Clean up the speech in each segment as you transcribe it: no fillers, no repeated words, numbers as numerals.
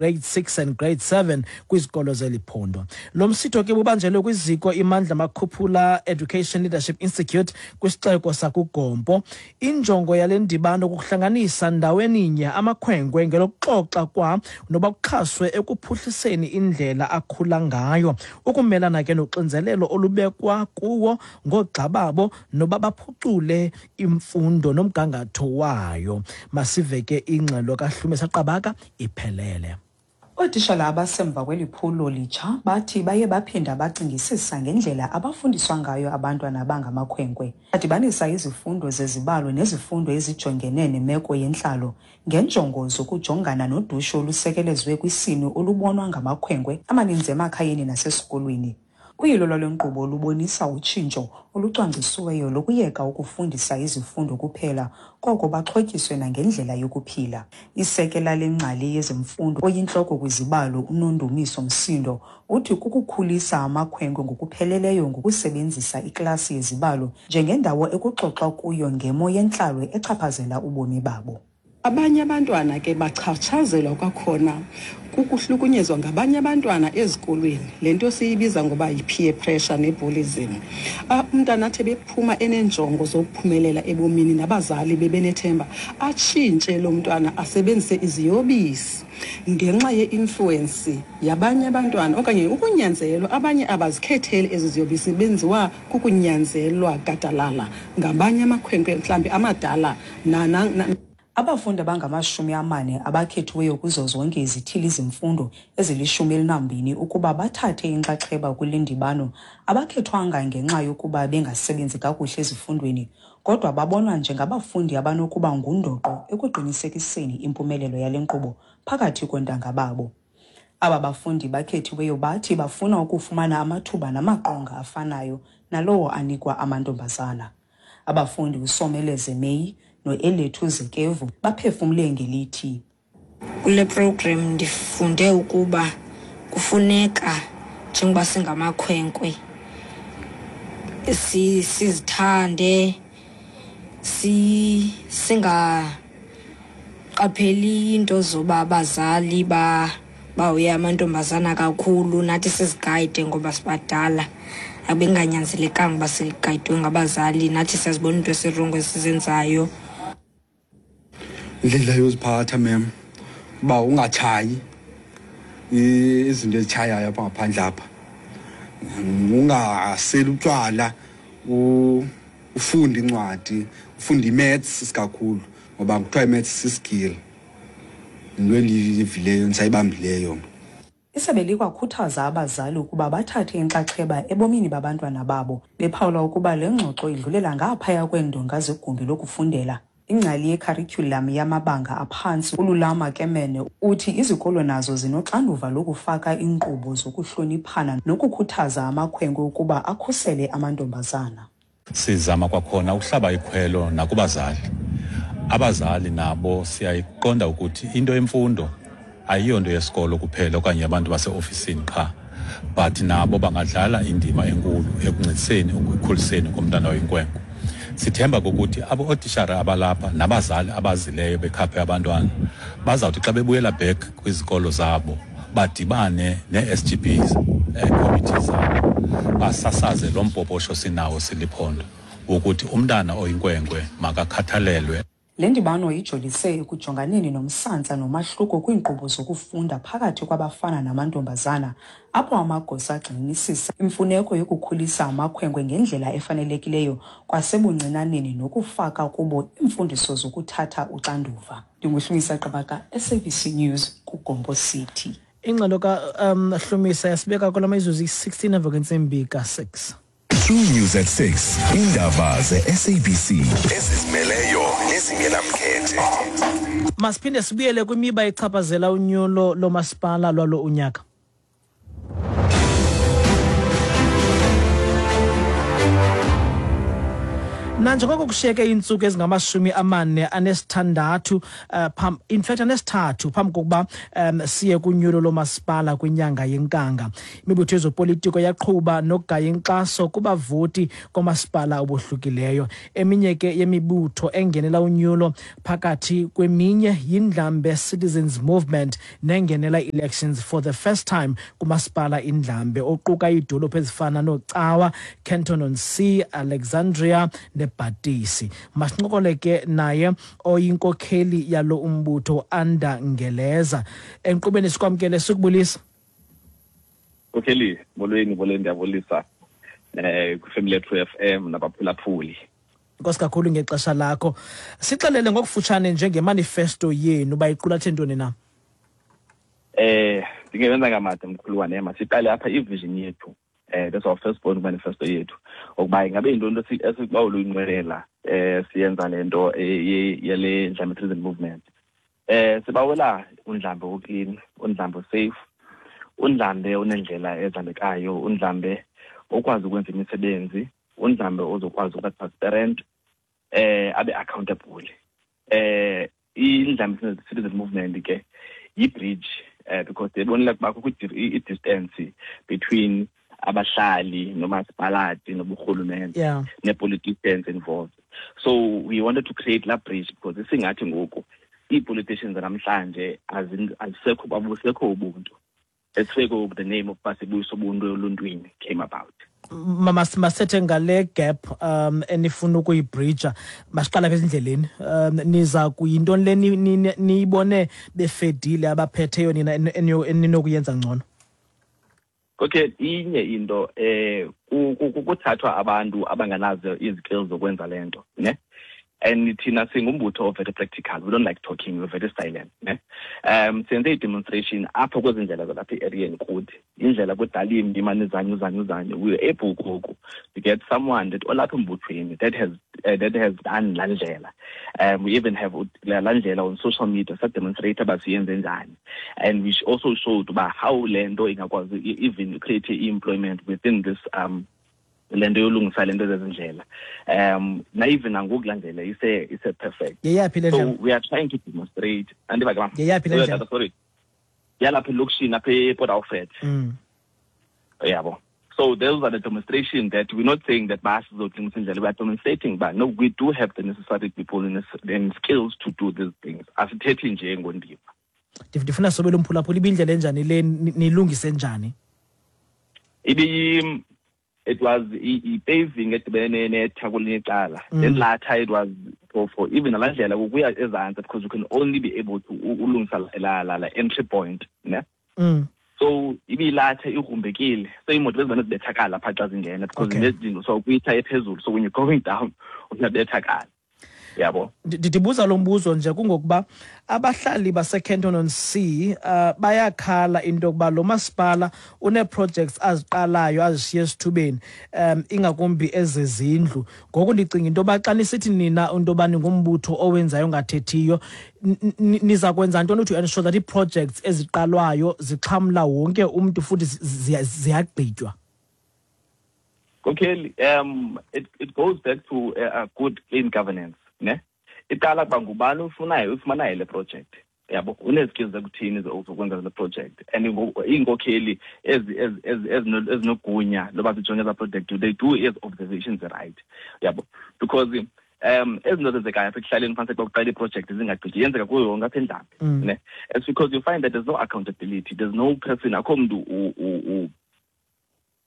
grade 6 and grade 7 kwizikolo zeli phondo. Lo msitho ke bubanjelwe kwiziko iMandla Makhuphula Education Leadership Institute kwisixeko sakuGompo. Injongo yale ndibano kukuhlanganisa ndaweninye amakhwenkwe ngelokuxoxa kwa noba kuxhaswe ekuphuhliseni indlela akhula ngayo, ukumelana ke noxinzelelo olubekwa kuwo ngoogxa babo noba baphucule imfundo nomgangatho wayo. Masive ke ingxelo kaHlumisa Qabaka iphelele. Ootishala abasemva kweli phulo litsha bathi baye baphinda bacingisisa ngendlela abafundiswa ngayo abantwana abangamakhwenkwe. Badibanisa izifundo zezibalo nezifundo ezijongene nemeko yentlalo ngenjongo zokujongana nodushe olusekelezwe kwisini olubonwa ngamakhwenkwe amaninzi emakhayeni nasesikolweni. Uyilo lwale nkqubo lubonisa utshintsho olucwangcisiweyo lokuyeka ukufundisa izifundo kuphela koko baxhotyiswe nangendlela yokuphila. Isekela lengcali yezemfundo oyintloko kwizibalo uNondumiso Msindo uthi kukukhulisa amakhwenkwe ngokupheleleyo ngokusebenzisa iklasi yezibalo njengendawo ekuxoxwa kuyo ngemo yentlalo echaphazela ubomi babo. Abanye abantwana ke bachatshazelwa kwakhona kukuhlukunyezwa ngabanye abantwana ezikolweni, le nto siyibiza ngoba yi-peer pressure ne-bullyism. Umntana athi bephuma eneenjongo zokuphumelela ebomini nabazali bebenethemba, atshintshe lo mntwana asebenzise iziyobisi ngenxa ye-influence yabanye abantwana okanye ukunyanzelwa. Abanye abazikhetheli ezi ziyobisi, benziwa kukunyanzelwa gadalala ngabanye amakhwenkwe mhlawumbi amadala. Abafundi abangama-40 abakhethiweyo kuzo zonke izithili zemfundo ezili-12 ukuba bathathe inxaxheba kule ndibano abakhethwanga ngenxa yokuba bengasebenzi kakuhle ezifundweni, kodwa babonwa njengabafundi abanokuba ngundoqo ekuqinisekiseni impumelelo yale nkqubo phakathi koontanga babo. Aba bafundi bakhethiweyo bathi bafuna ukufumana amathuba namaqonga afanayo nalowo anikwa amantombazana. Abafundi uSomeleze Meyi noElethu Zekevu baphefumle ngelithi, Kule program ndifunde ukuba kufuneka njengoba singamakhwenkwe sizithande, singaqapheli into zoba abazali bahoye amantombazana kakhulu, nathi sizigayide ngoba sibadala. Abenganyanzelekanga uba sigayidwe ngabazali, nathi siyazibona into esirongo esizenzayo. Indlela yoziphatha mem, uba ungatshayi izinto ezitshayayo apha ngaphandle apha, ungaseli utywala, ufunde incwadi, ufunde i-maths isikakhulu, ngoba kuthiwa i-maths siskill. Yinto endiyivileyo ndisayibambileyo. Isebe likwakhuthaza abazali ukuba bathathe inxaxheba ebomini babantwana babo, bephawula ukuba le ngxoxo idlulela ngaphaya kweendonga zegumbi lokufundela. Ingcali yekharityhulam yamabanga aphantsi uLulama Kemene uthi izikolo nazo zinoxanduva lokufaka iinkqubo zokuhloniphana nokukhuthaza amakhwenkwe ukuba akhusele amantombazana. Sizama kwakhona ukuhlaba ikhwelo nakubazali. Abazali nabo siyayiqonda ukuthi into yemfundo ayiyonto yesikolo kuphela okanye abantu baseofisini qha, but nabo bangadlala indima enkulu ekuncediseni ekukhuliseni komntana oyinkwenkwe. Sithemba ukuthi abo ootishara abalapha nabazali abazileyo bekhaphe abantwana bazawuthi xa bebuyela back kwizikolo zabo badibane nee-S G Bs, committees zabo, basasaze lo mpoposho sinawo siliphondo wokuthi umntana oyinkwenkwe makakhathalelwe. Le ndibano ijolise ekujonganeni nomsantsa nomahluko kwiinkqubo zokufunda phakathi kwabafana namantombazana, apho amagosa agxininisisa imfuneko yokukhulisa amakhwenkwe ngendlela efanelekileyo kwasebuncinaneni nokufaka kubo iimfundiso zokuthatha uxanduva. NdinguHlumisa Qabaka, SABC News, kuGompo City. Ingxelo ka Hlumisa yasibeka kula mizuzu iyi-16 emva kwentsimbi ka-6. True News at 6, indaba ze-SABC ezizimeleyo nezingenamkhethe. Masiphinde sibuyele kwimiba echaphazela unyulo lomasipala lwalo unyaka. Nanjengoko kushiyeke iintsuku ezingama-46, in fact anesithathu, phambi kokuba siye kunyulo lomasipala kwinyanga yeNkanga, imibutho yezopolitiko yaqhuba nokugaya inkxaso kubavoti komasipala obohlukileyo. Eminye ke yemibutho engenela unyulo, phakathi kweminye, yiNdlambe Citizens Movement, nengenela elections for the first time kumasipala iNdlambe, oquka iidolophu ezifana noCawa, Kenton on Sea, Alexandria neBhatisi. Masincokole ke naye oyinkokheli yalo umbutho, Anda Ngeleza, enkqubeni. Sikwamkele, sikubulisa. Nkokheli, molweni, molweni, ndiyabulisa kwiFamily True FM nabaphulaphuli. Nkosi kakhulu ngexesha lakho. Sixelele ngokufutshane njengemanifesto yenu uba iqulathe ntoni na. Ndingewenza ngamade, mkhuluwane. Masiqale apha, ivision yethu, that's our first point, manifesto yethu, ukuba ingabe yintoni esibawela uyinqwenela siyenza le nto yale Ndlambe Citizen Movement. Sibawela uNdlambe oclean, uNdlambe safe, uNdlambe onendlela ezihambekayo, uNdlambe okwazi ukwenza imisebenzi, uNdlambe ozokwazi ukuba transparent, abe accountable. INdlambe Citizen Movement ke yi-bridge, because ndiyibonile ukuba kukho i-distance between abahlali nomasipalati noburhulumente nee-politicians involved. So we wanted to create la bridge because isingathi ngoku ii-politicians namhlanje azisekho, abusekho ubuntu. That's where ngoku the name of Basibuyisa Ubuntu Eluntwini came about. Masethe ngale gap enifuna ukuyibridga, masiqala apha ezindleleni. Niza kuyintoni le niyibone befedile abaphetheyo nina eninokuyenza ngcono? Okay, inye into, kuthathwa abantu abanganazo izikills zokwenza le nto, ne? And thina singumbutho very practical. We don't like talking, we're very silent, ne? Senze i-demonstration apho kwezi ndlela zalapha e-areeni kuthi indlela kudala imbi, imane izanye uzanye uzanye. We were able ngoku to get someone that olapha embuthweni that has done laa ndlela. We even have laa ndlela on social media, sademonstrate uba siyenze njani, and we also showed uba how le nto ingakwazi even create i-employment within this le nto yolungisa le nto zezindlela. Na even nangoku laa ndlela ise perfect. Yeyaphi le So ndlela? we are trying to demonstrate, andiva ke, mama? Yeyaphi le Oh, ndlela? tata, sorry, yalapha elokishini, apha ePort Alfred. Yabo, so those are the demonstration that we're not saying that basizolungisa indlela. We are demonstrating but no, we do have the necessary people and skills to do these things. Asithethi nje ngondiva. Ndifuna sobela umphulaphula, ibindlela enjani le, nilungise njani? It was i-paving edibene netha kwelinye icala. Then latha it was for even nalaa ndlela kukuya ezantsi, because you can only be able to ulungisa la entry point, ne? So ibilatha igrumbekile, so iimoto bezibane zibethakala phaa xa zingena because nezidingo, so kuyitha ephezulu, so when you're going down uyabethakala, yabo. Ndibuza lo mbuzo nje kungokuba abahlali baseKenton on Sea bayakhala into yokuba lo masipala unee-projects aziqalayo azishiye esithubeni, ingakumbi ezezindlu. Ngoku ndicinga into yoba xa nisithi nina into yoba ningumbutho owenzayo ongathethiyo, niza kwenza ntoni to ensure that ii-projects eziqalwayo zixhamla wonke umntu futhi ziyagqitywa? Okay, it goes back to a good clean governance, ne? Iqala kuba ngubani ufunayo ufumanayo le project, yabo, unezikills zekuthini zokwenza le project, and iinkokheli ezinogunya loba zijonge eza project, they do ezi observations, right? Yabo, because ezinto zenzekayo apha ekuhlaleni, phantsi xa kuqala iiprojekthi zingagqityi, yenzeka kuyo yonke apha eNdlambe, ne? It's because you find that there's no accountability, there's no person, akho mntu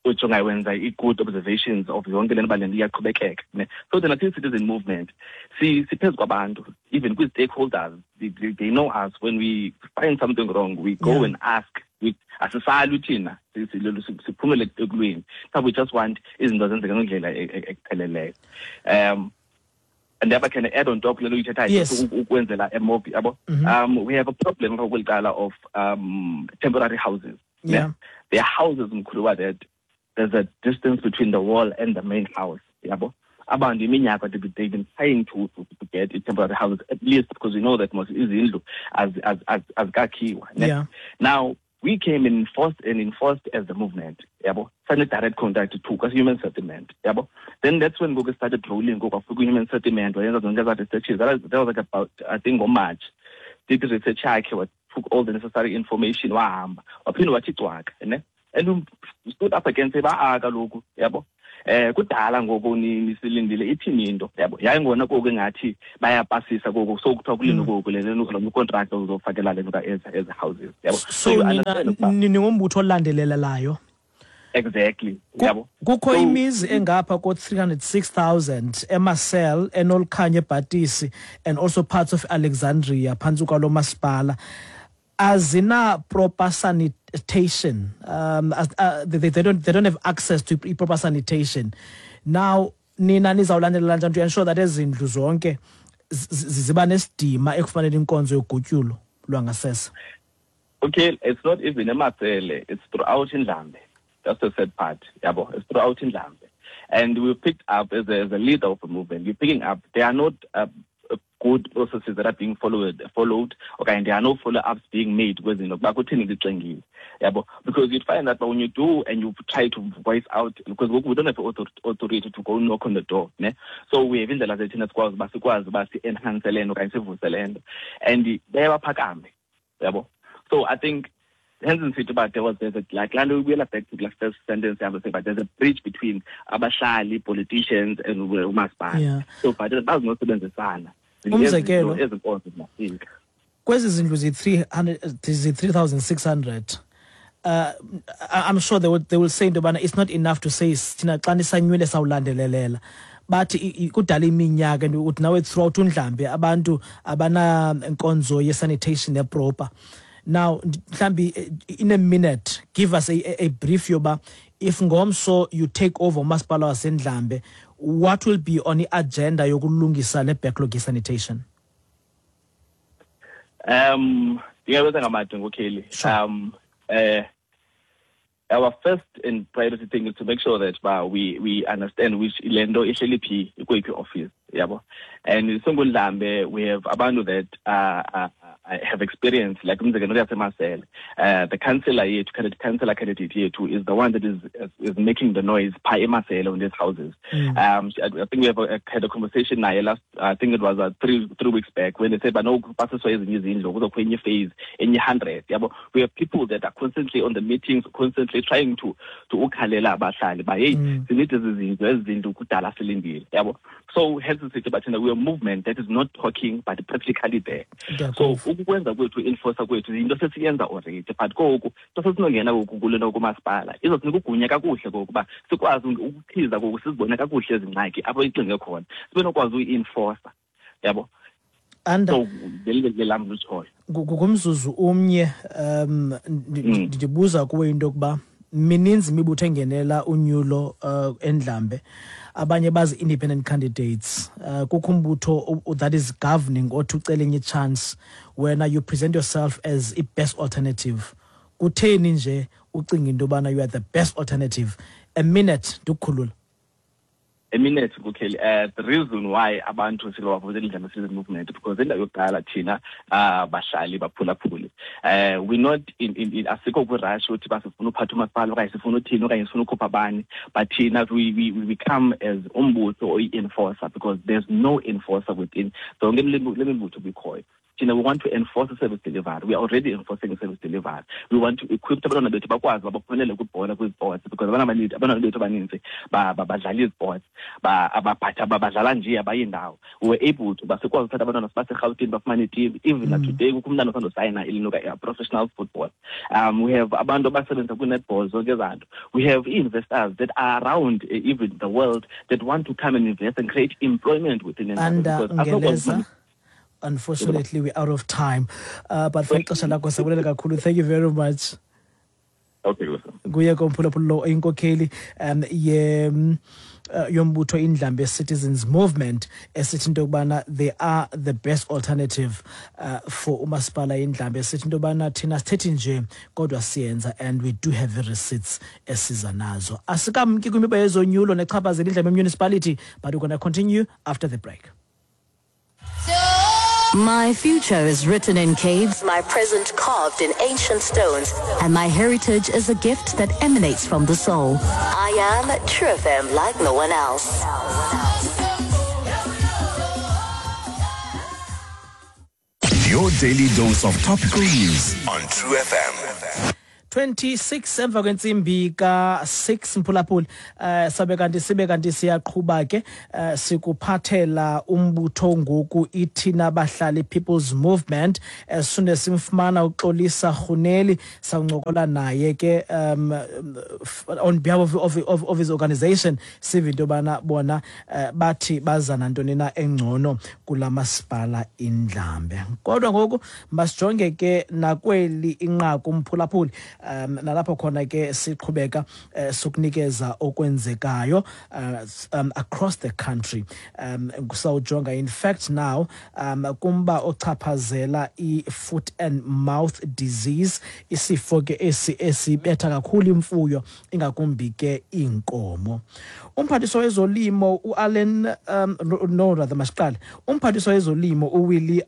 ujonga wenza i-good observations of yonke le nto uba le nto iyaqhubekeka, ne? So thina siyi-citizen movement siphezu kwabantu, even kwii-stakeholders, they know us. When we find something wrong, we go and ask. Asisali thina, siphumele ekulweni. So we just want izinto zenzeke ngendlela ekupheleleyo. And thereby can add on top le nto uyithethayo, ukwenzela emobi, yabo. We have a problem apha kweli cala of temporary houses, ne? There are houses, mkhuluwa, that there's a distance between the wall and the main house, yabo. Abantu iminyaka they've been trying to get temporary houses at least, because we know that most izindlu azikakhiwa, ne? Now We came and enforced and enforced as the movement, yabo. Sane direct contact to kwa human settlement, yabo. Then that's when ngoku started rolling, ngoku kwafika human settlement, wayenza zonke ezaa researches. That was like about, I think, ngoMarch. Did the research yakhe, took all the necessary information, wahamba. Waphinde wathi cwaka, ne? And we stood up against ba ah kaloku, yabo. Kudala ngoku nisilindile ithini into, yabo. Yayingona koku engathi bayapasisa koku, so kuthiwa kulento koku le lo contract uzofakela le nto ezi houses, yabo. So nina ningumbutho olandelelelayo. Exactly, yabo. Kukho imizi engapha ko-306,000 eMarcel, eNolkhanya, eBhatisi and also parts of Alexandria phantsi kwalo masipala azina proper sanitation. They don't have access to proper sanitation. Now nina nizawulandelela njani to ensure that ezi ndlu zonke ziba nesidima ekufanele inkonzo yogutyulo lwangasese? Okay, it's not even eMarcel, it's throughout Ndlambe. That's the sad part, yabo. It's throughout Ndlambe. And we picked up as a leader of the movement, we're picking up there are not good processes that are being followed, okay, and there are no follow-ups being made kwezinto kuba kutheni lixengile, yabo, because you'd find that when you do and you try to voice out, because ngoku we don't have authority to go knock on the door, ne? So we have indlela zethu thina sikwazi uba sikwazi uba si-enhance le nto okanye sivuse le nto, and baye baphakame, yabo. So I think hence ndisithi uba there's a, like, laa nto ibuyela back to the first sentence yam, say, but there's a bridge between abahlali, politicians and umasipala. So but bazinosebenzisana. Umzekelo. Ezi nkonzo zingafika. Kwezi zindlu zi-300, zi-3600, I'm sure they will say into yobana it's not enough to say thina xa nisanyule sawulandelelela. Bathi kudala iminyaka and uthi nawe throughout uNdlambe abantu abanankonzo ye-sanitation e-proper. Now mhlambi in a minute, give us a brief yoba if ngomso you take over umasipala waseNdlambe, what will be on i-agenda yokulungisa le backlog ye-sanitation? Ndingabenza ngamade ngokheli. Sure. Our first and priority thing is to make sure that ba we understand which le nto ihleli phi, ikweyiphi office, yabo. And singuNdlambe we have abantu that have experience, like umzekelo yaseMarcel, the councillor yethu, candidate, councillor candidate yethu is the one that is making the noise pha eMarcel on these houses. I think we have had a conversation naye last, I think it was 3 weeks back, when they said but no, kupasiswa ezinye izindlu, kuzokho enye phase, enye 100, yabo. We have people that are constantly on the meetings, constantly trying to ukhalela abahlali ba hey, sinide ezi zindlu, ezi zindlu kudala silindile, yabo. So hence sithi bathina we are a movement that is not talking but practically there. So ukwenza kwethu, enforcer kwethu, yinto sesiyenza already, but koku into sesinongena ngoku kule nto kumasipala izosinika ugunya kakuhle kokuba sikwazi ukukhiza koku, sizibone kakuhle ezi ngxaki apho ixinge khona, sibe nokwazi uyi-enforcer, yabo. Anda. So leli lam lutshoyo. Ngumzuzu umnye, ndibuza kuwe into yokuba mininzi imibutho engenela unyulo eNdlambe, abanye bazi independent candidates, kukho umbutho that is governing othi ucela enye chance. Wena you present yourself as i-best alternative. Kutheni nje ucinga into yobana you are the best alternative? A minute, ndikukhulula. A minute kukheli. The reason why abantu sibavotela iNdlambe Citizen Movement, because indawo yokuqala thina bahlali baphulaphuli, we not in asikho kwi-rush uthi basifuna uphatha umasipala okanye sifuna uthini okanye sifuna ukhupha abani, but thina we come as umbutho oyi-enforcer, because there's no enforcer within zonke le mibutho bikhoyo. Thina we want to enforce the service delivery. We are already enforcing the service delivery. We want to equip abantwana bethu bakwazi uba baphumelele kwibhola, kwi-sports, because abantwana bethu abaninzi badlala izi-sports, badlala nje abayi ndawo. We were able to basikwazi uthatha abantwana sibaseRhawutini bafumane itim. Even mm. today kukho umntana osandosayina ilinuka professional football. We have abantu abasebenza kwi-netball, zonke ezaa nto. We have investors that are around, even the world, that want to come and invest and create employment within Anda Ngeleza, unfortunately we're out of time, but for ixesha lakho siyabulela kakhulu. Thank you very much. Okay. Kuye komphulaphula lo inkokheli ye yombutho iNdlambe Citizens Movement, esithi into yokubana they are the best alternative for umasipala iNdlambe, esithi into yobana thina sithethi nje kodwa siyenza, and we do have receipts esiza nazo. Asikamki kwimiba yezonyulo nechaphazela iNdlambe Municipality, but we're going to continue after the break. So My future is written in caves, my present carved in ancient stones, and my heritage is a gift that emanates from the soul. I am True FM like no one else. Your daily dose of topical news on True FM. 26 emva kwentsimbi ka-6 mphulaphuli eh sabe kanti sibe kanti siyaqhuba ke eh, sikuphathela umbutho ngoku ithina bahlali People's Movement as soon as simfumana uXolisa Rhuneli sawuncokola naye ke um on behalf of, of, of, of his organization sive into yobana bona eh, bathi baza nantoni na engcono kula masipala indlambe kodwa ngoku masijonge ke nakweli inqaku umphulaphuli um nalapho khona ke siqhubeka uh, sokunikeza okwenzekayo uh, um, across the country um sawujonga in fact now um kumba ochaphazela i-foot and mouth disease isifo ke esi esibetha kakhulu imfuyo ingakumbi ke iinkomo umphathiswa wezolimo uAllen um, no rather masiqale umphathiswa wezolimo uWillie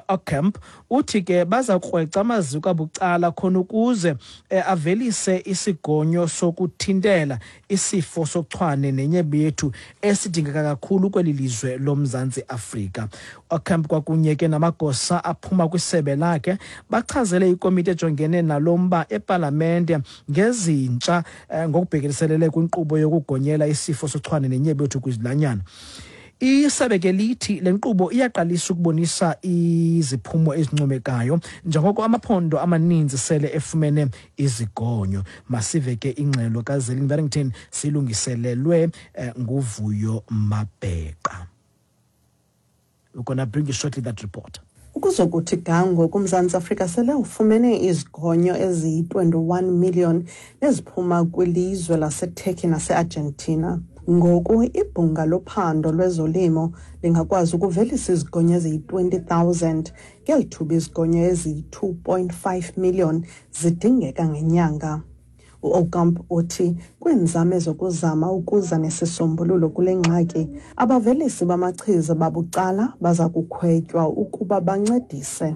Aucamp uthi ke baza kukrweca amaziko abucala khona ukuze eh, avelise isigonyo sokuthintela isifo sochwane nenyebe yethu esidingeka kakhulu kweli lizwe loMzantsi Afrika. Aucamp kwakunye ke namagosa aphuma kwisebe lakhe bachazele ikomiti ejongene nalo mba epalamente ngezintsha eh, ngokubhekeliselele kwinkqubo yokugonyela isifo sochwane nenyebe yethu kwizilwanyana. Isebe ke lithi le nkqubo iyaqalisa ukubonisa iziphumo ezincomekayo njengoko amaphondo amaninzi sele efumene izigonyo. Masive ke ingxelo kaZelin Barrington silungiselelwe eh, nguVuyo Mabheqa. We're gonna bring you shortly that report. Ukuzokuthi ga ngoku uMzantsi Afrika sele ufumene izigonyo eziyi-21 million neziphuma kwilizwe laseTurkey naseArgentina. Ngoku ibhunga lophando lwezolimo lingakwazi ukuvelisa izigonyo eziyi-20 000 ngeli thuba izigonyo eziyi-2.5 million zidingeka ngenyanga. U-Aucamp uthi kwiinzame zokuzama ukuza nesisombululo kule ngxaki, abavelisi bamachiza babucala baza kukhwetywa ukuba bancedise.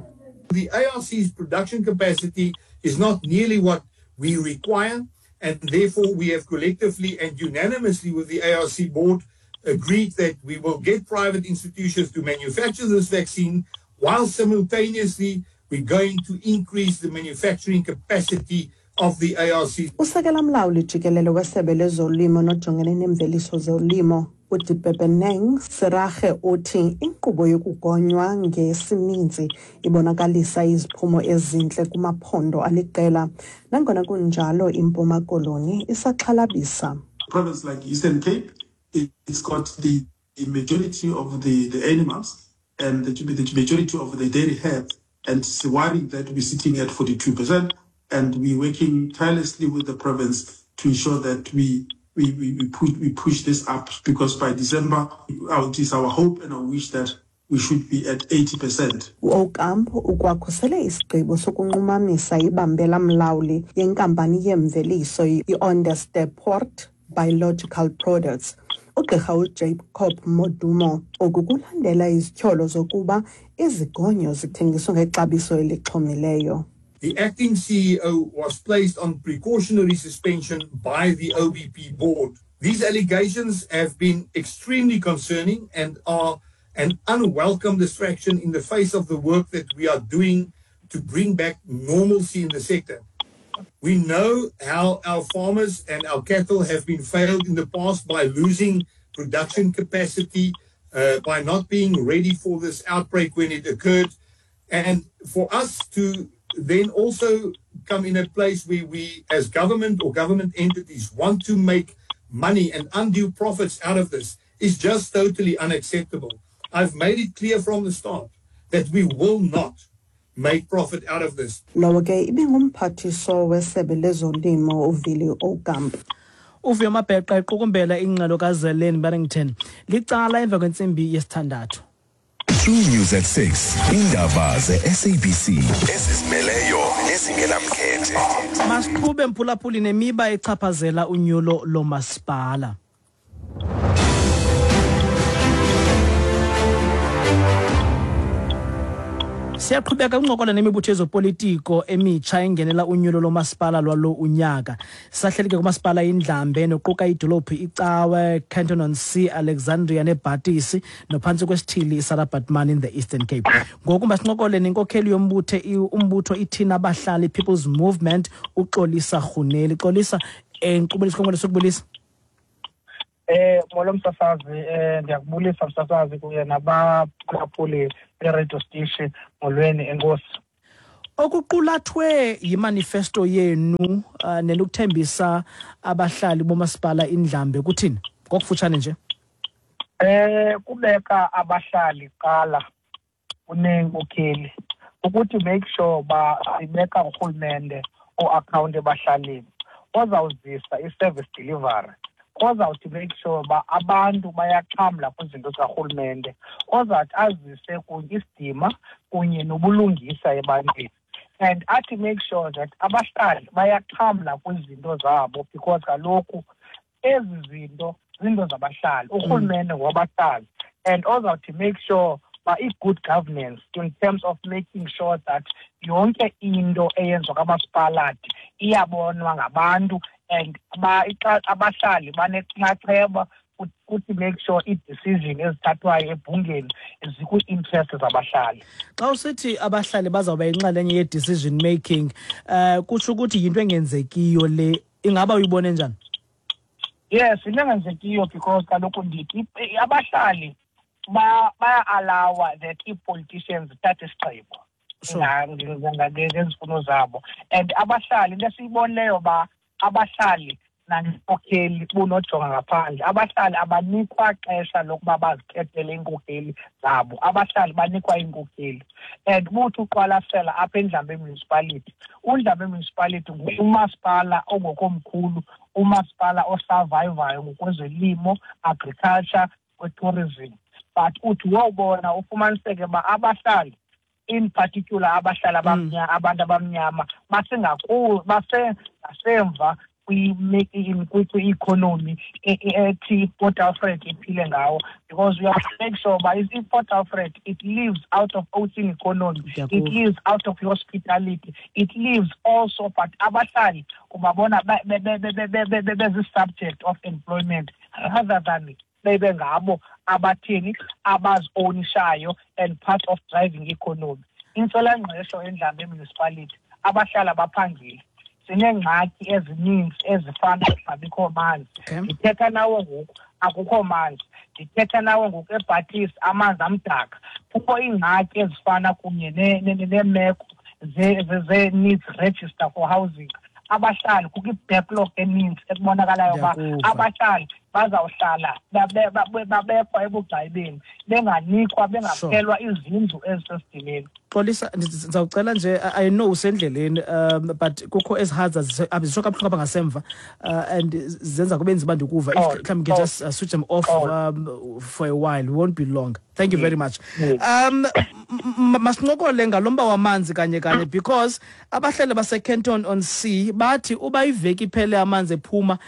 The ARC's production capacity is not nearly what we require, and therefore we have collectively and unanimously with the ARC board agreed that we will get private institutions to manufacture this vaccine while simultaneously we're going to increase the manufacturing capacity of the ARC. Usekela mlawuli jikelele wesebe lezolimo nojongene neemveliso zolimo uDipepeneng Seraje uthi inkqubo yokugonywa ngesininzi ibonakalisa iziphumo ezintle kumaphondo aliqela. Nangona kunjalo iMpuma Koloni isaxhalabisa. Province like Eastern Cape, it's got the majority of the, the animals and the, the majority of the dairy herds, and it's worrying that we're sitting at 42%, and we're working tirelessly with the province to ensure that we we, we, we, push, we push this up because by December, it is our hope and our wish that we should be at 80%. UOcampo ukwakhusele isigqibo sokunqumamisa ibambela mlawuli yenkampani yeemveliso i-Onderstepoort Biological Products. Ugqirha uJacob Modumo oku kulandela izityholo zokuba izigonyo zithengiswa ngexabiso elixhomileyo. The acting CEO was placed on precautionary suspension by the OBP board. These allegations have been extremely concerning and are an unwelcome distraction in the face of the work that we are doing to bring back normalcy in the sector. We know how our farmers and our cattle have been failed in the past by losing production capacity, uh, by not being ready for this outbreak when it occurred. And for us to then also come in a place where we, as government or government entities, want to make money and undue profits out of this is just totally unacceptable. I've made it clear from the start that we will not make profit out of this. Lowo ke ibingumphathiswa wesebe lezolimo uVili Aucamp. Uvuyo Mabheqa equkumbela ingxelo kaZeleni Barrington licala emva kwentsimbi yesithandathu. True News at 6. Indaba ze-SABC ezizimeleyo nezingenamkhethe. Masiqhube mphulaphuli nemiba echaphazela unyulo lomasipala. Siyaqhubeka uncokola nemibutho yezopolitiko emitsha engenela unyulo lomasipala lwalo unyaka. Sahleli ke kumasipala iNdlambe noquka idolophu iCawe, Canton on Sea, Alexandria neBhatisi nophantsi kwesithili iSarah Baartman in the Eastern Cape. Ngoku masincokole nenkokheli yombutho umbutho iThina Abahlali People's Movement uXolisa Rhuneli. Xolisa, enkqubeni isikhonkwane sokubulisa. Molo msasazi, ndiyakubulisa msasazi kunye nabaphulaphuli be-radio station. Molweni, enkosi. Okuqulathwe yimanifesto yenu nelokuthembisa abahlali bomasipala iNdlambe kuthini? Ngokufutshane nje. Kubeka abahlali kuqala kuneenkokheli, ukuthi make sure ba sibeka urhulumente o-account ebahlalini ozawuzisa i-service delivery, ozawuthi make sure uba abantu bayaxhamla kwizinto zikarhulumente, ozawuthi azise kunye isidima kunye nobulungisa ebantwini, and athi make sure that abahlali bayaxhamla kwizinto zabo, because kaloku ezi zinto zinto zabahlali, urhulumente ngowabahlali, and ozawuthi make sure uba i-good governance in terms of making sure that yonke into eyenziwa kamasipalati iyabonwa ngabantu and abahlali banenxaxheba kuthi make sure ii-decision ezithathwayo ebhungeni zikwii-interest zabahlali. Xa usithi abahlali bazawuba yinxalenye ye-decision making, kutsho ukuthi yinto engenzekiyo le, ingaba uyibone njani? Yes, into engenzekiyo, because kaloku ndithi abahlali baya-allowa that ii-politicians zithathe isigqibo ngezifuno zabo, and abahlali, into esiyibonileyo uba abahlali nangenkokheli bunojonga ngaphandle, abahlali abanikwa xesha lokuba bazikhethele iinkokheli zabo, abahlali banikwa iinkokheli. And buthi uqwalasela apha eNdlambe Municipality, uNdlambe Municipality ngumasipala ongokomkhulu, umasipala osurvivayo ngokwezolimo, agriculture, kwe-tourism, but uthi wowubona ufumaniseke uba abahlali, in particular abahlali abamnyama, abantu abamnyama basengasemva kwi-economy ethi iPort Alfred iphile ngawo, because we have to make sure uba iPort Alfred, it lives out of ocean economy, it lives out of hospitality, it lives also, but abahlali ubabona bezi-subject of employment rather than bebe ngabo abatheni abazi-ownishayo and part of driving economy. Intswelangqesho eNdlambe Municipality, abahlali abaphangeli, sineengxaki ezininzi ezifana nokungabikho manzi. Ndithetha nawe ngoku akukho manzi, ndithetha nawe ngoku eBhatisi amanzi amdaka. Kukho iingxaki ezifana kunye neemeko ze-needs register for housing. Abahlali kukho i-backlog eninzi ekubonakalayo uba abahlali bazawuhlala babekwa ebugxayibeni, benganikwa, bengaphelwa izindlu ezisesidimeni. Xolisa, ndizawucela nje, I know usendleleni, but kukho ezi hazards zisho kabuhlungu apha ngasemva, and zenza kube nzima ndikuva. If mhlawumbi can just switch them off for a while, we won't be long. Thank you very much. Masincokole ngalo mba wamanzi kanye kanye, because abahlali baseCanton on Sea bathi uba iveki iphele amanzi ephuma,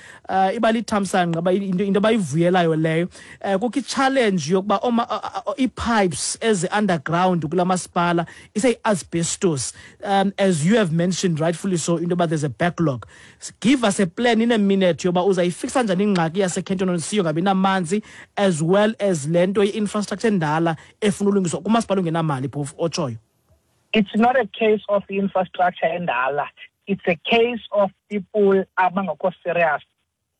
iba lithamsanqa, into abayivuyelayo leyo. Kukho i-challenge yokuba ii-pipes ezi-underground kula masipala iseyi-asbestos, as you have mentioned rightfully so, into yoba there's a backlog. Give us a plan in a minute yoba uzayifixa njani ingxaki yaseCanton on Sea yongabi namanzi, as well as le nto ye-infrastructure endala efuna ulungiswa kumasipala ongenamali phofu otshoyo. It's not a case of infrastructure endala, it's a case of people abangekho serious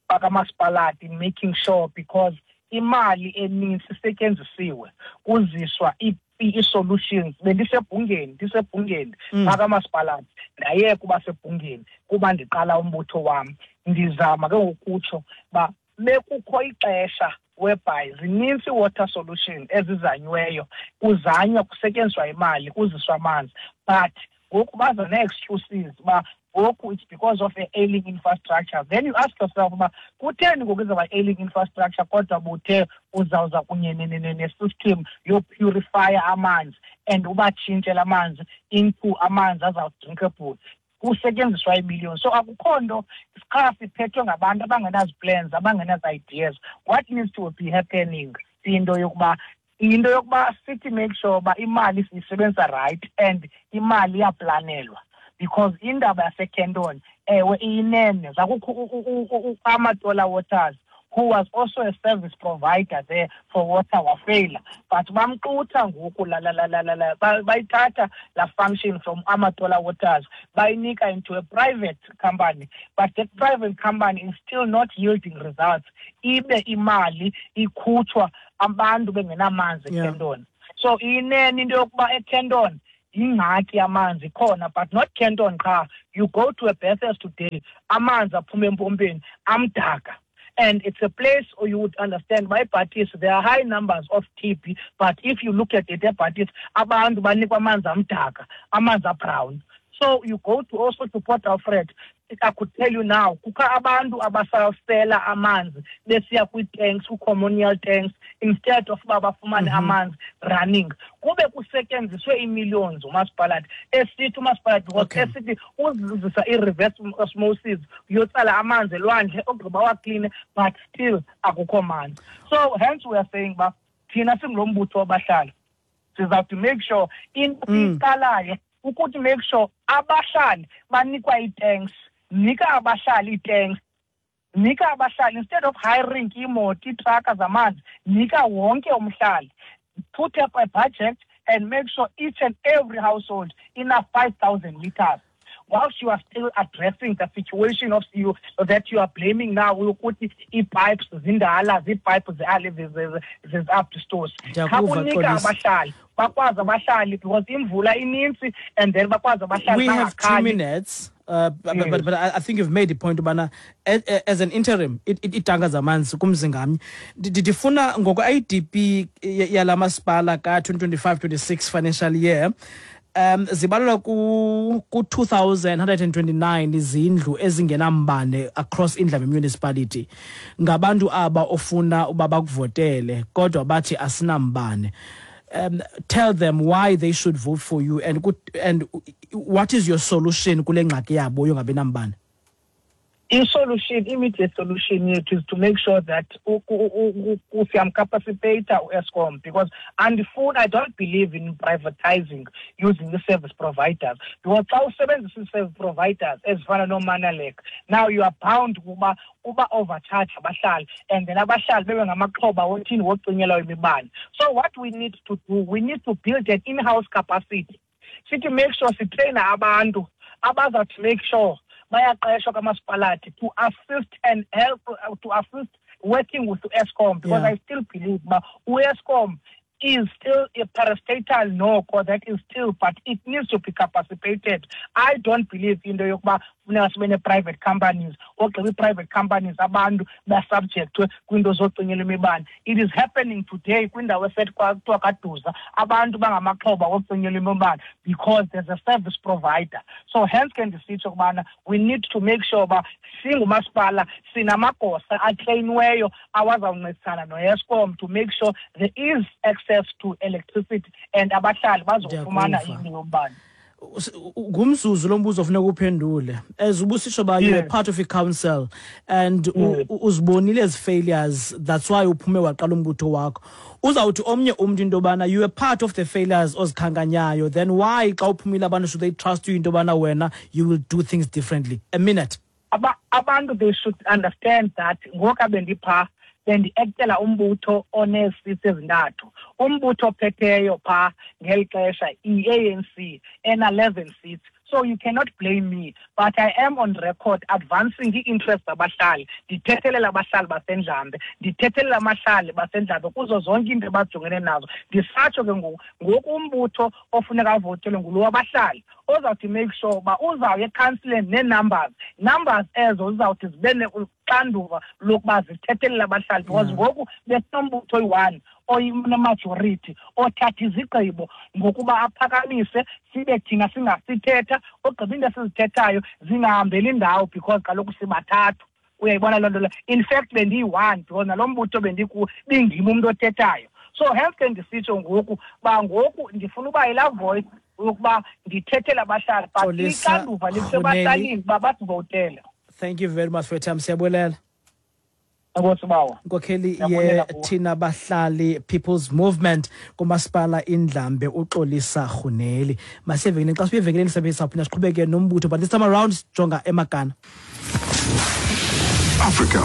bakamasipalati making sure, because imali eninzi isetyenzisiwe kuziswa ii-solutions. Bendisebhungeni, ndisebhungeni bakamasipalati, ndayeka uba sebhungeni kuba ndiqala umbutho wam. Ndizama ke ngokutsho uba bekukho ixesha whereby zininzi water solution ezizanyweyo, kuzanywa kusetyenziswa imali, kuziswa amanzi, but ngoku baza nee-excuses uba ngoku it's because of a ailing infrastructure. Then you ask yourself uba kutheni ngoku izawuba ailing infrastructure kodwa buthe uzawuza kunye ne-system yopurifya amanzi and ubatshintshela amanzi into amanzi azawu-drinkable, kusetyenziswa ibillion. So akukho nto, qha siphethwe ngabantu abangenazi-plans, abangenazi-ideas. What needs to be happening, into yokuba Into yokuba sithi make sure uba imali siyisebenzisa right and imali iyaplanelwa, because indaba yaseKenton, ewe, iyinene, zakukho Amatola Waters, who was also a service provider there for water, wafeyila, but bamxutha ngoku la la la la la la bayithatha la function from Amatola Waters, bayinika into a private company, but that private company is still not yielding results, ibe imali ikhutshwa abantu bengenamanzi eKenton. So inene into yokuba eKenton ingxaki yamanzi ikhona, but not Kenton qha. You go to a Bathurst today, amanzi aphuma empompeni amdaka. And it's a place where you would understand why Bathurst, there are high numbers of TB, but if you look at it, Bathurst, abantu banikwa amanzi amdaka, amanzi abrown. So you go to also to Port Alfred, I could tell you now, kukho abantu abasasela amanzi besiya kwii-tanks, kwii-communal tanks, instead of uba bafumane amanzi running. Kube kusetyenziswe ii-millions umasipalati, esithi umasipalati, because esithi uzisa i-reverse osmosis, uyotsala amanzi elwandle, ogqiba wakline, but still akukho manzi. So hence we are saying uba thina singulo mbutho wabahlali, sizawuthi make sure into siyiqalayo ukuthi make sure abahlali banikwa ii-tanks, nika abahlali ii-tanks, nika abahlali, instead of hiring iimoto, iitraka zamanzi, nika wonke umhlali. Put up a budget and make sure each and every household ina 5,000 liters. Whilst you are still addressing the situation of you that you are blaming now, ukuthi ii-pipes zindala, zii-pipes zezi-asbestos. Ndiyakuva, Khakunika Xolisa. abahlali, bakwazi abahlali because imvula inintsi and then bakwazi abahlali We have 2 bangakhali. minutes. But I think you've made the point, ubana as an interim, iitanka zamanzi kumzi ngamnye. Ndifuna ngoko IDP yala masipala ka 2025-26 financial year, zibalelwa ku 2,129 izindlu ezingenambane across Indlambe municipality. Ngabantu aba ofuna uba bakuvotele kodwa bathi asinambane. Tell them why they should vote for you and what is your solution kule ngxaki yabo yongabi nambane? I-solution, immediate solution yethu is to make sure that siyamcapacitata u-Eskom, because andifuni, I don't believe in privatizing using the service providers, because xa usebenzisa ii-service providers ezifana nooManalek, now you are bound ukuba uba overcharge abahlali, and then abahlali bebe ngamaxhoba wothini wocinyelwa imibane. So what we need to do, we need to build an in-house capacity. Sithi make sure sitraina abantu abazawuthi make sure bayaqeshwa kamasipalati to assist and help, to assist working with Eskom, because I still believe ba Eskom is still a parastatal noko that is still, but it needs to be capacitated. I don't believe in the yokuba funeka sibe ne-private companies, ogqiba i-private companies abantu ba-subject kwiinto zocinyelwa imibane. It is happening today kwindawo esethi kuthiwa kaDuza, abantu bangamaxhoba wocinyelwa imibane because there's a service provider. So hence ke ndisitsho ukubana we need to make sure uba singumasipala sinamagosa atreyiniweyo awazawuncedisana no-Eskom to make sure there is access to electricity and abahlali bazofumana Ndiyakuva. into yombane. Ngumzuzu lo mbuzo ofuneka uphendule. As ubusitsho ba you were part of a council and uzibonile ezi failures, that's why uphume waqala umbutho wakho. Uzawuthi omnye umntu into yobana you were part of the failures ozikhankanyayo, then why xa uphumile abantu should they trust you into yobana wena you will do things differently? A minute. Abantu they should understand that ngoku bendipha bendiaktela umbutho oneesisi ezintathu. Umbutho ophetheyo pha ngeli xesha i-ANC ena-11 seats. So you cannot blame me, but I am on record advancing the interests zabahlali. Ndithethelela abahlali baseNdlambe, ndithethelela abahlali baseNdlambe kuzo zonke iinto abajongene nazo. Ndisatsho ke ngoku, ngoku umbutho ofuneka avotelwe ngulo wabahlali ozawuthi make sure uba uzawuya ekhansileni nee-numbers, numbers ezo zizawuthi zibe uxanduva lokuba zithethelele abahlali, because ngoku besinombutho oyi-one oyimajority othatha izigqibo ngokuba aphakamise, sibe thina singasithetha, ogqiba into esizithethayo zingahambeli ndawo because kaloku sibathathu. Uyayibona loo nto leyo? In fact bendiyi-one because nalo mbutho bendikuwo bindim umntu othethayo. So hence ke ndisitsho ngoku uba ngoku ndifuna uba yilaa voice yokuba ndithethele abahlali, but Xolisa ixanduva lisebahlalini Rhuneli. uba basivotele. Thank you very much for your time. Siyabulela. Enkosi bawo. Inkokheli ye Thina Bahlali People's Movement kumasipala Indlambe uXolisa Rhuneli. Masiye evenkileni, xa sibuya evenkileni sabe sawuphinda siqhubeke nombutho, but this time around sijonga eMakana. Africa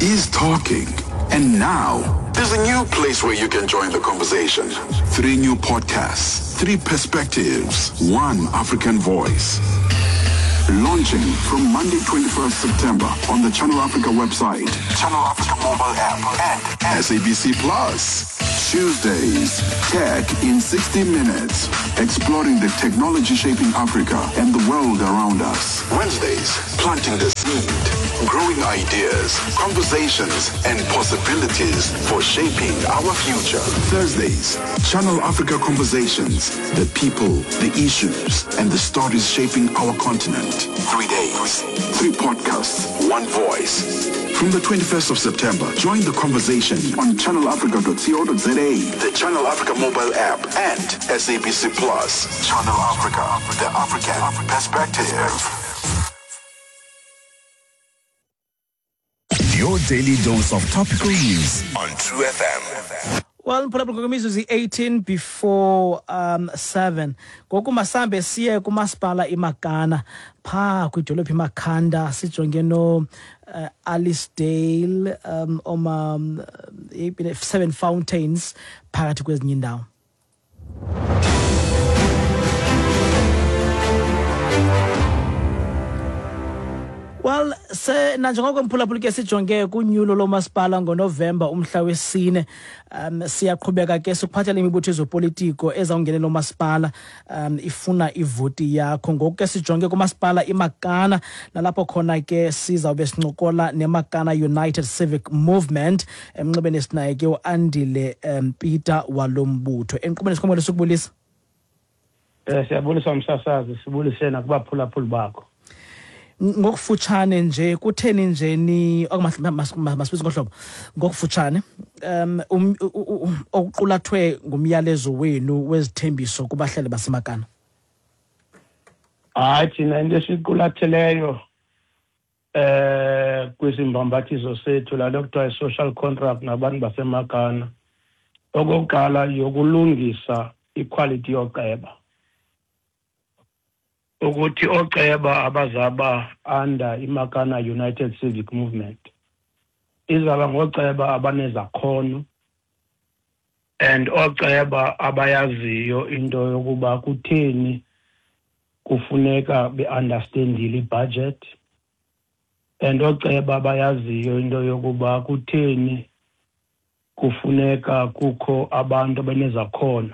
is talking. And now, there's a new place where you can join the conversation. Three new podcasts, three perspectives, one African voice. Launching from Monday, 21st September on the Channel Africa website, Channel Africa mobile app, and SABC Plus. Tuesdays, Tech in 60 Minutes, exploring the technology shaping Africa and the world around us. Wednesdays, planting the seed, growing ideas, conversations, and possibilities for shaping our future. Thursdays, Channel Africa Conversations, the people, the issues, and the stories shaping our continent. 3 days, 3 podcasts, 1 voice. From the 21st of September, join the conversation on channelafrica.co.za, the Channel Africa mobile app, and SABC Plus. Channel Africa, the African perspective. Your daily dose of topical news on True FM. Well, mphulaphula, ngokwemizuzu i-18 before 7 ngoku, masambe siye kumasipala iMakana phaa kwidolophu iMakhanda, sijonge no Alicedale, oma Seven Fountains phakathi kwezinye indawo. Well, se nanjengoko mphulaphula ke sijonge kunyulo lomasipala ngoNovemba umhla wesine, siyaqhubeka ke sikuphathela imibutho yezopolitiko ezawungenela umasipala, ifuna ivoti yakho. Ngoku ke sijonge kumasipala iMakana, nalapho khona ke sizawube sincokola neMakana United Civic Movement. Emnxebeni sinaye ke uAndile Peter walo mbutho. Enkqubeni sikhomele sukubulisa. Siyabulisa umsasazi, sibulise nakubaphulaphuli bakho. Ngokufutshane nje, kutheni nje ni masibize ngohlobo ngokufutshane okuqulathwe ngumyalezo wenu wezithembiso kubahlali baseMakana? Hayi, thina into esiqulatheleyo kwisimbambathiso sethu lalo kuthiwa i-social contract nabantu baseMakana, okokuqala yokulungisa iquality yoceba, ukuthi oceba abazaba under iMakana United Civic Movement izaba ngoceba abanezakhono and oceba abayaziyo into yokuba kutheni kufuneka be-understandile ibudget, and oceba abayaziyo into yokuba kutheni kufuneka kukho abantu abanezakhono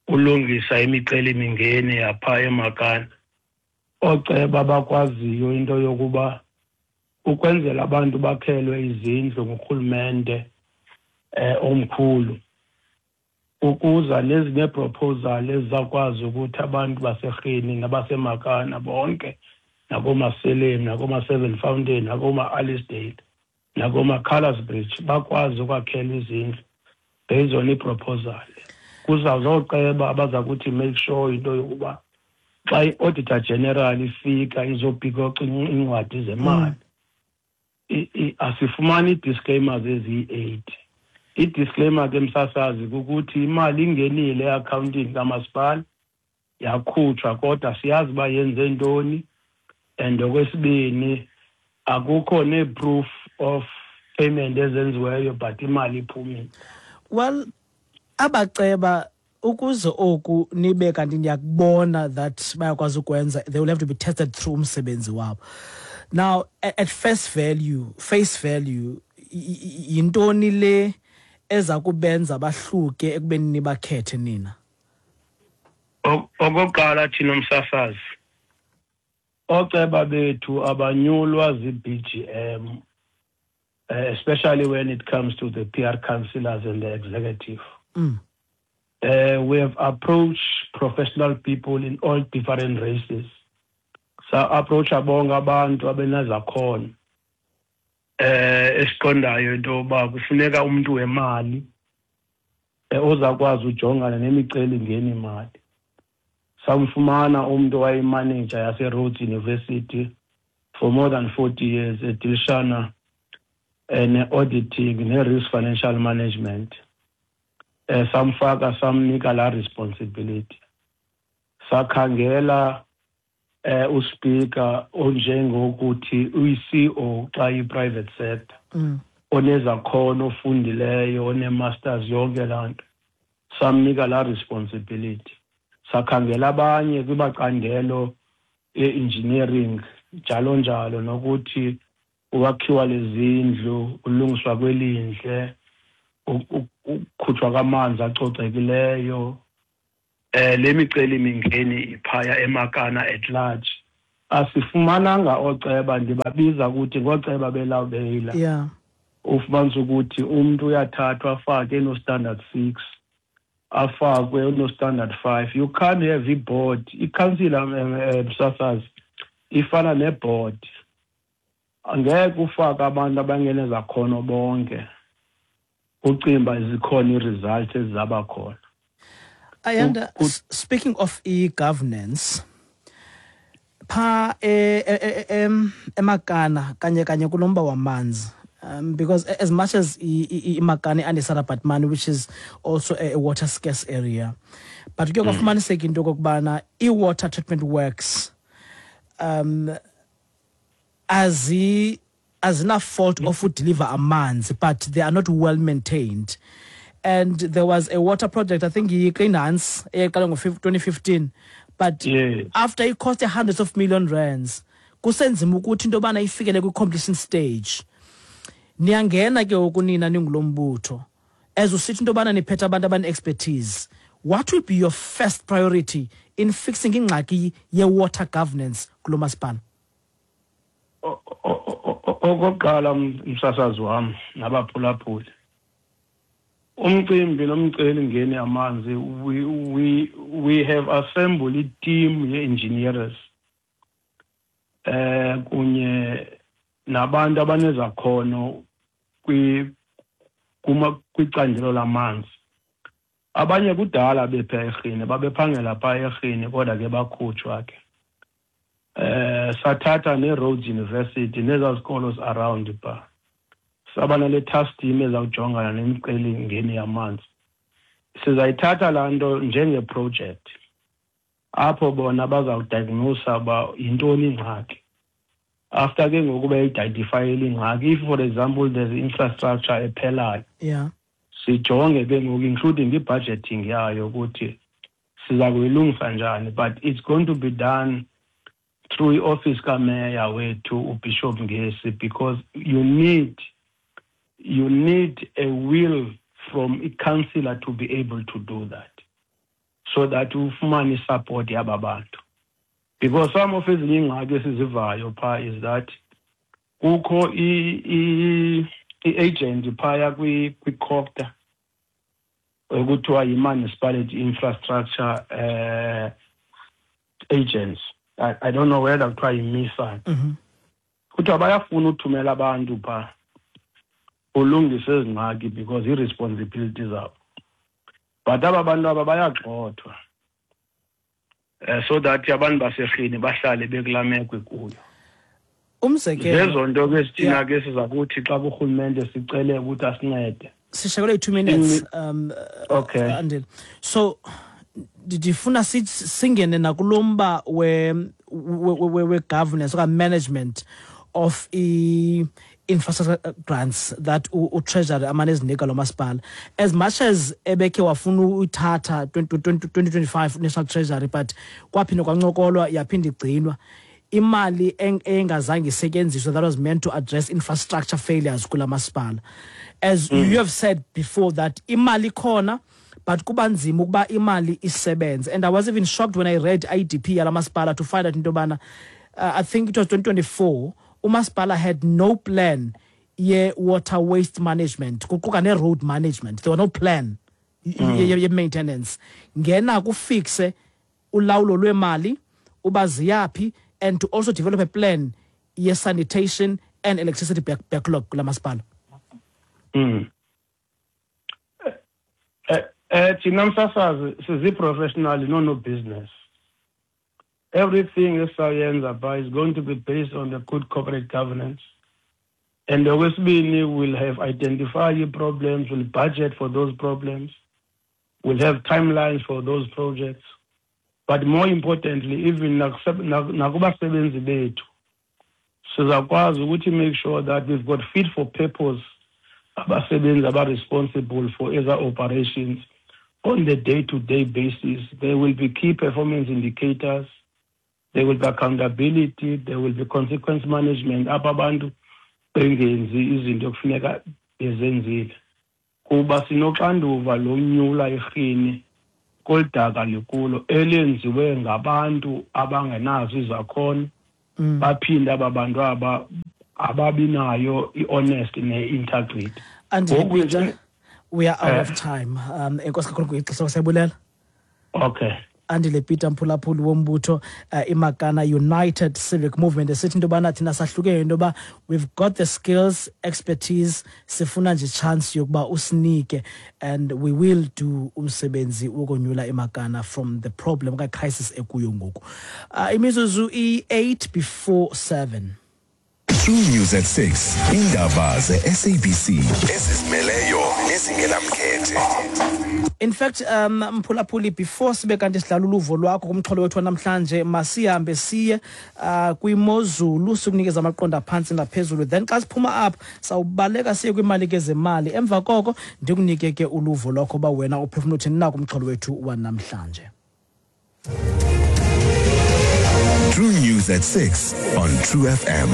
ulungisa imicelimingeni yapha eMakana, oceba bakwaziyo into yokuba ukwenzela abantu bakhelwe izindlu ngurhulumente omkhulu, ukuza nezinye proposal ezizakwazi ukuthi abantu baseRhini nabaseMakana bonke nakomaSelem nakoma-Seven Fountain nakoma-Alicedale nakoma-Colours Bridge bakwazi ukwakhelwa izindlu based on iproposal. Kuzawuzoceba abaza kuthi make sure into yokuba xa i-auditor general ifika izopikoca iincwadi zemali, asifumani ii-disclaimers eziyi-8. I-disclaimer ke msasazi kukuthi imali ingenile e-akhawuntini kamasipala yakhutshwa, kodwa siyazi uba yenze ntoni, and okwesibini akukho nee-proof of payment ezenziweyo, but imali iphumile. Well, abaceba ukuze oku nibe kanti niyakubona that bayakwazi ukwenza, they will have to be tested through umsebenzi wabo. Now, at first value, face value, yintoni le eza kubenza bahluke ekubeni nibakhethe nina? Okokuqala thina umsasazi, oceba bethu abanyulwa zi-BGM, especially when it comes to the PR councillors and the executive. We have approached professional people in all different races. So approach bonke abantu abenezakhono esiqondayo into yoba kufuneka umuntu wemali ozakwazi ujongana nemiceli-ngeni imali. Samfumana umuntu owayemanager yase-Rhodes University for more than 40 years, edilishana eh, ne-auditing ne-risk financial management eh samfaka samnika la responsibility sakhangela eh uspeaker onjengokuthi uyi-CEO xa i-private sector mm. onezakhono ofundileyo one-masters yonke laa nto samnika laa responsibility sakhangela abanye kwibacandelo e-engineering njalo njalo nokuthi ukwakhiwa lezindlu ulungiswa kwelindle ukukhutshwa kwamanzi acocekileyo eh le miceli mingeni iphaya emakana at large asifumananga ooceba ndibabiza ukuthi ngooceba belawubeyila yeah ufumanisa ukuthi umntu uyathathwa afake eno-standard six afakwe uno-standard five you can't have i-board ikhansila eh, eh, msasazi ifana ne-board angeke ufake abantu abangenezakhono bonke ucimba zikhona ii-results ezizaba khona Ayanda, speaking of e-governance, pha e, e, e, emakana kanye kanye kulomba wamanzi um, because as much as imakana i-andisara batman which is also a, a water scarce area but kuye mm. kwafumaniseka into okokubana i-water treatment works um azi azina-fault of udeliver amanzi but they are not well maintained and there was a water project i think yiqinance eyayiqala ngo-2015 but yes. after it cost hundreds of million rands kusenzima ukuthi into yobana ifikele kwi-completion stage niyangena ke ngoku nina ningulo mbutho as usithi into yobana niphethe abantu abane-expertise what will be your first priority in fixing ingxaki ye-water governance kulo masipala okokuqala msasazi wam nabaphulaphuli umcimbi nomceli ngeni amanzi we, we, we have assembled i-team ye-engineers eh kunye nabantu abanezakhono kwi kuma kwicandelo lamanzi abanye kudala bepha erhini babephangela pha erhini kodwa ke bakhutshwa ke eh sathatha ne-Rhodes University nezaa zikolo around pha saba nale task team ezawujongana nemicelimngeni yamanzi sizayithatha laa nto njengeproject apho bona bazawudiagnosa uba yintoni ingxaki after ke ngoku beyidentifayile ingxaki if for example there's infrastructure ephelayo yeah sijonge ke ngoku including i-budgeting yayo ukuthi siza kuyilungisa njani but it's going to be done through i-office kameya wethu ubishop ngesi because you need you need a will from i-councillor to be able to do that so that ufumane isupport yaba bantu because some of ezinye iingxaki esizivayo phaa is that kukho i-agent phaya kwi-cocta ekuthiwa yi-municipality infrastructure uh, agents I, I don't know whether kuthiwa yimisa mm -hmm. kuthiwa bayafuna uthumela abantu phaa ulungise ezi ngxaki because ii-responsibility zabo but aba bantu aba bayagxothwa um so that abantu baserhini bahlale bekulaa meko ikuyo umzekelo zezo nto ke sithina ke siza kuthi xa kurhulumente sicele ukuthi asincede sishekelwe yi-two minutes um okay andile so ndifuna singene nakulo mba we-governance okanye management of i-infrastructure grants that utreasury amane ezinika lo masipala as much as ebekhe wafuna uyithatha 2025 national treasury but kwaphinde kwancokolwa yaphinde igcinwa imali engazange isetyenziswe that was meant to address infrastructure failures kula masipala as mm. you have said before that imali ikhona but kuba nzima ukuba imali isebenze and i was even shocked when i read idp yala masipala to find out into yobana uh, i think it was 2024 umasipala had no plan ye-water waste management kuquka ne-road management there were no plan mm. ye-maintenance ngena kufixe ulawulo lwemali uba ziyaphi and to also develop a plan ye-sanitation and electricity back backlog kula masipala mm. Eh, eh thina msasazi sizi-professional no-no business everything esayenza pha is going to be based on the good corporate governance And okwesibini, we'll have identified ii-problems, we'll budget for those problems, we'll have timelines for those projects. But more importantly, even nakubasebenzi bethu, sizakwazi ukuthi make sure that we've got fit for purpose abasebenzi aba-responsible for eza operations on the day-to-day basis. There will be key performance indicators, there will be accountability, there will be consequence management apho abantu bengenzi izinto ekufuneka bezenzile, kuba sinoxanduva lonyula irhini kolu daka likulo elenziwe ngabantu abangenazo izakhono. Baphinde aba bantu aba ababinayo i-honest ne-integrity. Ngoku we are out of time. Enkosi kakhulu ngexesha, siyabulela. Okay. Andile Peter, mphulaphuli wombutho iMakana United Civic Movement, esithi into yobana thina sahlukene, into yoba we've got the skills, expertise, sifuna nje chance yokuba usinike and we will do umsebenzi wokonyula iMakana from the problem okanye crisis ekuyo ngoku. Imizuzu i-8 before 7. True News at 6. Indaba ze-SABC ezizimeleyo nezingenamkhethe. In fact, mphulaphuli, before sibe kanti sidlala uluvo lwakho kumxholo wethu wanamhlanje, masihambe siye kwimozulu, sikunikeza amaqondo aphantsi naphezulu. Then xa siphuma apha sawubaleka siye kwiimali ke zemali. Emva koko ndikunike ke uluvo lwakho uba wena uphefumla uthini na kumxholo wethu wanamhlanje. True News at 6 on True FM.